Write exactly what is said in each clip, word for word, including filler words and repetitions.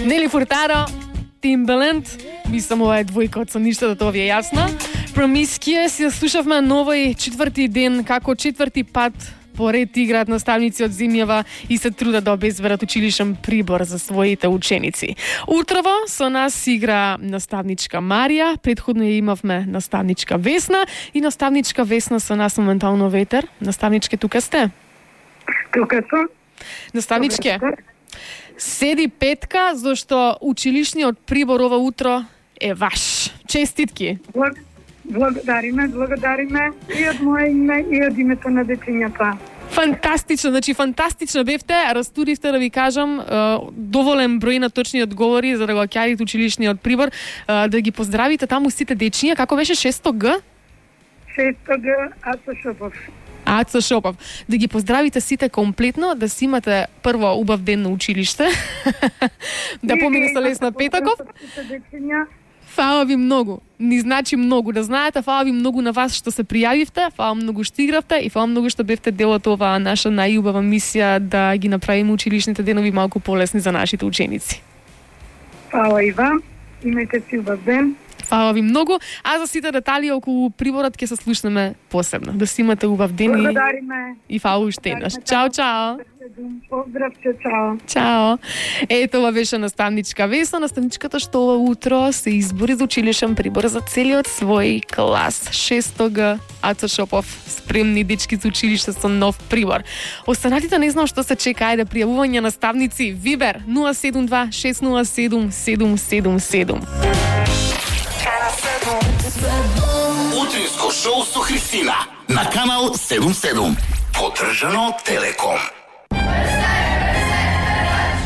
Нели Фуртадо, Timbaland, мислам ова е двојка од со ништо, да тоа ви е јасно. Promiscuous си слушавме новој четврти ден, како четврти пат поред играат наставници од земјава и се трудат да обезберат училишен прибор за своите ученици. Утрово со нас игра наставничка Марија, претходно ја имавме наставничка Весна и наставничка Весна со нас моментално ветер. Наставничке, тука сте? Тука сум. Наставничке, седи петка, зашто училишниот прибор ова утро е ваш. Честитки! Благодариме, благодариме и од моje име и од името на дечињата. Фантастично, значи фантастично бевте, растуривте, да ви кажам, доволен број на точни одговори за да го ќарите училишниот прибор, да ги поздравите таму сите дечиња. Како беше шесто Г? шесто Г, Ацо Шопов. Ацо Шопов. Да ги поздравите сите комплетно, да си имате прво убав ден на училиште, да помине со лесна петоков. Фала ви многу. Ни значи многу да знаете. Фала ви многу на вас што се пријавивте, фала многу што игравте и фала многу што бевте дел од оваа наша најубава мисија да ги направиме училишните денови малку полесни за нашите ученици. Фала и вам. Имајте си убав ден. Фала ви многу. А за сите детали околу приборот ќе се слушнеме посебно. Да си имате убав ден и... Благодариме. И фала уште еднаш. Чао, чао. Поздравче, чао. Чао. Ето, ова беше наставничка Весна, наставничката што ова утро се избори за училишен прибор за целиот свој клас. шесто Г, Ацо Шопов, спремни дечки за училиште со нов прибор. Останатите не знам што се чека, ајде пријавување наставници. Вибер нула седум два шест нула седум седум седум седум. Утринско шоу со Христина на канал седум седум. Поддржано од Телеком.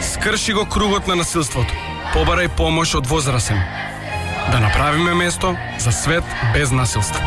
Скрши го кругот на насилството. Побарај помош од возрасен. Да направиме место за свет без насилство.